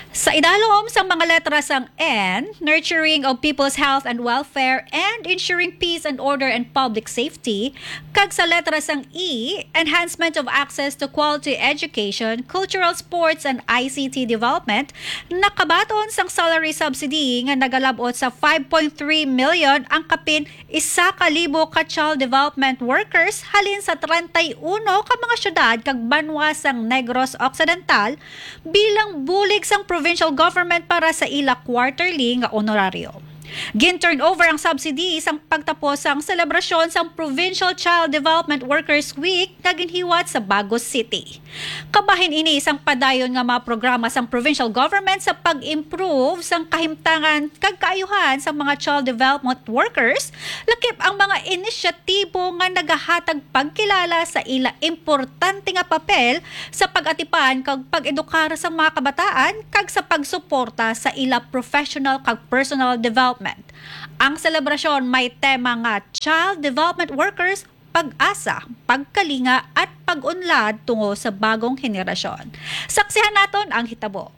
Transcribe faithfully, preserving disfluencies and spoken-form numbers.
Sa idalom sang mga letra sang N, nurturing of people's health and welfare and ensuring peace and order and public safety, kag sa letra sang E, enhancement of access to quality education, cultural, sports, and I C T development, nakabaton sang salary subsidy nga nagalab-ot sa five point three million ang kapin isa ka libo ka child development workers halin sa treinta y uno ka mga syudad kag banwa sang Negros Occidental bilang bulig sang provincial government para sa ila quarterly nga honoraryo. Gin-turn over ang subsidy sang pagtapos sang selebrasyon sang Provincial Child Development Workers Week nga ginhiwat sa Bagos City. Kabahin ini sang padayon nga mga programa sang provincial government sa pag-improve sang kahimtangan kag kaayuhan sang mga child development workers, lakip ang mga inisyatibo nga nagahatag pagkilala sa ila importante nga papel sa pag-atipan kag pag-edukar sa mga kabataan kag sa pagsuporta sa ila professional kag personal development. Ang selebrasyon may tema nga Child Development Workers, Pag-asa, Pagkalinga, at Pag-unlad tungo sa Bagong Henerasyon. Saksihan naton ang hitabo.